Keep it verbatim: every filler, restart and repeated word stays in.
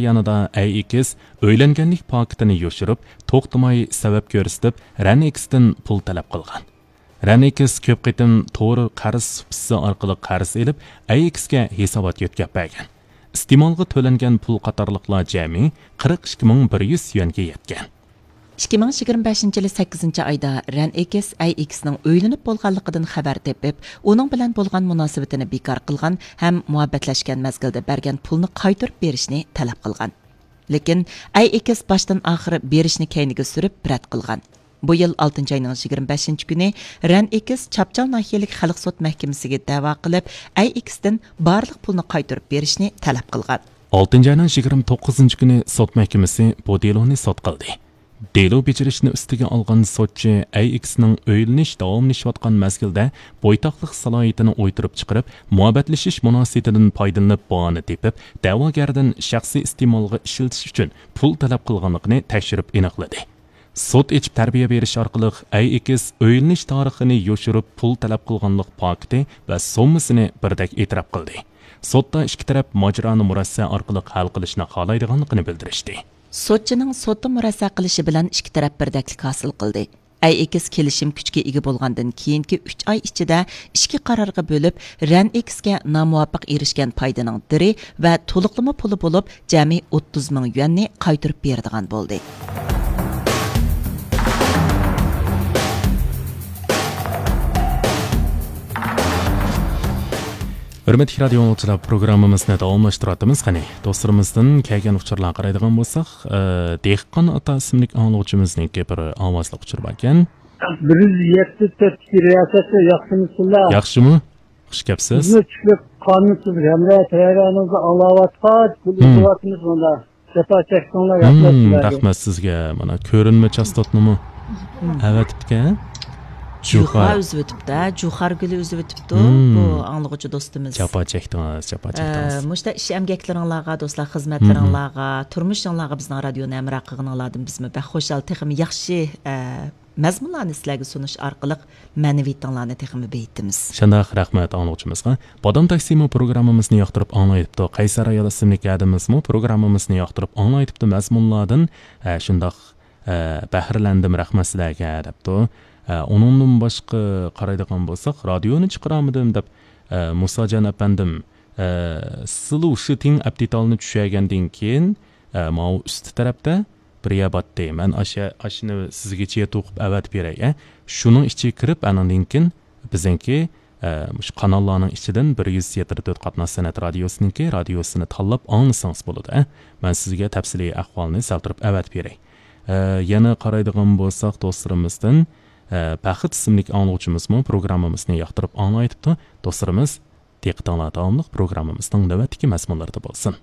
يېنىدا ئەي ئېكىس ئۆيلەنگەنلىك پاكىتىنى يوشۇرۇپ، توختىماي سەۋەب كۆرسىتىپ، رەن ئېكىستىن پۇل تەلەپ قىلغان. رەن ئېكىس كۆپ قېتىم تور قەرز سۇپىسى ئارقىلىق قەرز ئېلىپ، ئەي ئېكىسكە ھېسابات يۆتكەپ بەرگەن. ئىستېمالغا تۆلەنگەن پۇل قاتارلىقلار جەمئىي قىرىق ئىككى مىڭ بىر يۈز يۈەنگە يەتكەن. ئىككى مىڭ يىگىرمە بەشىنچى يىلى سەككىزىنچى ئايدا رەن ئېكىس ئەي ئېكىسنىڭ ئۆيلىنىپ بولغانلىقىدىن خەۋەر تېپىپ، ئۇنىڭ بىلەن بولغان مۇناسىۋىتىنى بىكار قىلغان ھەم مۇھەببەتلەشكەن مەزگىلدە بەرگەن پۇلنى قايتۇرۇپ بېرىشنى تەلەپ قىلغان. لېكىن ئەي ئېكىس باشتىن ئاخىر بېرىشنى كەينىگە سۈرۈپ رەت قىلغان. بۇ يىل ئالتىنچى ئاينىڭ يىگىرمە بەشىنچى كۈنى رەن ئېكىس چاپچال ناھىيەلىك خەلق سوت مەھكىمىسىگە دەۋا قىلىپ، ئەي ئېكىستىن بارلىق پۇلنى قايتۇرۇپ بېرىشنى تەلەپ قىلغان. ئالتىنچى ئاينىڭ يىگىرمە توققۇزىنچى كۈنى سوت مەھكىمىسى بۇ دېلونى سوت قىلدى. دېلو بېجىرىشنى ئۈستىگە ئالغان سوتچى ئەي ئېكىسنىڭ ئۆيلىنىش داۋاملىشىۋاتقان مەزگىلدە بويتاقلىق سالاھىيىتىنى ئويتۇرۇپ چىقىرىپ، مۇھەببەتلىشىش مۇناسىۋىتىدىن پايدىلىنىپ باھانە تېپىپ، دەۋاگەردىن شەخسىي ئىستېمالغا ئىشلىتىش ئۈچۈن پۇل تەلەپ قىلغانلىقىنى تەكشۈرۈپ ئېنىقلىدى. سوت ئېچىپ تەربىيە بېرىش ئارقىلىق ئەي ئېكىس ئۆيلىنىش تارىخىنى يوشۇرۇپ پۇل تەلەپ قىلغانلىق پاكىتى ۋە سوممىسىنى بىردەك ئېتىراپ قىلدى. سوتتا ئىككى تەرەپ ماجىرانى مۇرەسسە ئارقىلىق ھەل قىلىشنى خالايدىغانلىقىنى بىلدۈرۈشتى. سوتچىنىڭ سوتتا مۇرەسسە قىلىشى بىلەن ئىككى تەرەپ بىردەكلىك ھاسىل قىلدى. ئەي ئېكىس كېلىشىم كۈچكە ئىگە بولغاندىن كېيىنكى ئۈچ ئاي ئىچىدە ئىككى قارارغا بۆلۈپ، رەن ئېكىسكە نامۇۋاپىق ئېرىشكەن پايدىنىڭ دىرى ۋە تولۇقلىما پۇلى بولۇپ جەمئىي ئوتتۇز مىڭ يۈەننى قايتۇرۇپ بېرىدىغان بولدى. ھۆرمەتلىك رادىيو ئاڭلىغۇچىلار، پروگراممىمىزنى داۋاملاشتۇرۇۋاتىمىز. قېنى، دوستلىرىمىزدىن كەلگەن ئۇچۇرلارغا قارايدىغان بولساق، ئە، دېھقان ئاتا ئىسىملىك ئاڭلىغۇچىمىزنىڭكى بىر ئاۋازلىق ئۇچۇر باركەن. بىر يۈز يەتتە تۆتتىكى رىياسەتچى، ياخشىمۇسىلەر؟ ياخشىمۇ؟ خۇش كەپسىز. بىزمۇ چۈشلۈك قانۇنسىز ھەمراھ تەييارلىقىمىزنى ئاڭلاۋاتقاچ، بۇ مم. ئىزدىۋاتىمىز مۇندا. جاپا چەكتىڭلار، رەھمەت مم، سىلەرگە. رەھمەت سىزگە. مانا، كۆرۈنمە چاستوتنىمۇ مم. ئەۋەتىپتىكەن. جۇخا جۇخا. ئۈزۈۋېتىپتۇ، جۇخار گۈلى ئۈزۈۋېتىپتۇ. مم. بۇ ئاڭلىغۇچى دوستىمىز. جاپا چەكتىڭىز، جاپا ئە، چەكتىڭىز. مۇشۇنداق ئىش ئەمگەكلىرىڭلارغا، دوستلار، خىزمەتلىرىڭلارغا، مم. تۇرمۇشۇڭلارغا بىزنىڭ رادىيونى ھەمراھ قىلغىنىڭلاردىن بىزمۇ بەك خۇشال، تېخىمۇ ياخشى، ئە، مەزمۇنلارنى سىلەرگە سۇنۇش ئارقىلىق مەنىۋىيىتىڭلارنى تېخىمۇ بېيىتىمىز. شۇنداق، رەھمەت ئاڭلىغۇچىمىزغا. بادام تاكسىمۇ پروگراممىمىزنى ياقتۇرۇپ ئاڭلايتتۇق. قەيسەر ئايال ئىسىملىك ھەدىمىزمۇ پروگراممىمىزنى ياقتۇرۇپ ئاڭلايتتۇق. مەزمۇنلاردىن، ئە، شۇنداق، ئە، بەھرىلەندىم، رەھمەت سىلەرگە، دەپتۇ. ئە، ئۇنىڭدىن باشقا قارايدىغان بولساق، رادىيونى چىقىرامىدىم دەپ، ئە، مۇساجان ئەپەندىم، ئە، سلۇشىتىڭ ئەپتىتالنى چۈشەرگەندىن كېيىن، ئە، ماۋۇ ئۈستى تەرەپتە بىر يەر باتتى. مەن ئاشە-، ئاشۇنى سىزگىچە توقۇپ ئەۋەتىپ بېرەي، ئە. شۇنىڭ ئىچىگە كىرىپ، ئانىڭدىن كېيىن بىزنىڭكى، ئە، مۇشۇ قاناللارنىڭ ئىچىدىن بىر يۈز يەتتە تۆت قاتناش سەنئەت رادىيوسىنىڭكى رادىيوسىنى تاللاپ ئاڭلىسىڭىز بولىدۇ، ئە. مەن سىزگە تەپسىلىي ئەھۋالنى سەل تۇرۇپ ئەۋەتىپ بېرەي. ئە، يەنە قارايدىغان بولساق، دوستلىرىمىزدىن، ئە، بەخت ئىسىملىك ئاڭلىغۇچىمىزمۇ پروگراممىمىزنى ياقتۇرۇپ ئاڭلايتتى. دوستلىرىمىز، دىققىتىڭلار داۋاملىق پروگراممىمىزنىڭ نۆۋەتتىكى مەزمۇنلىرىدا بولسۇن.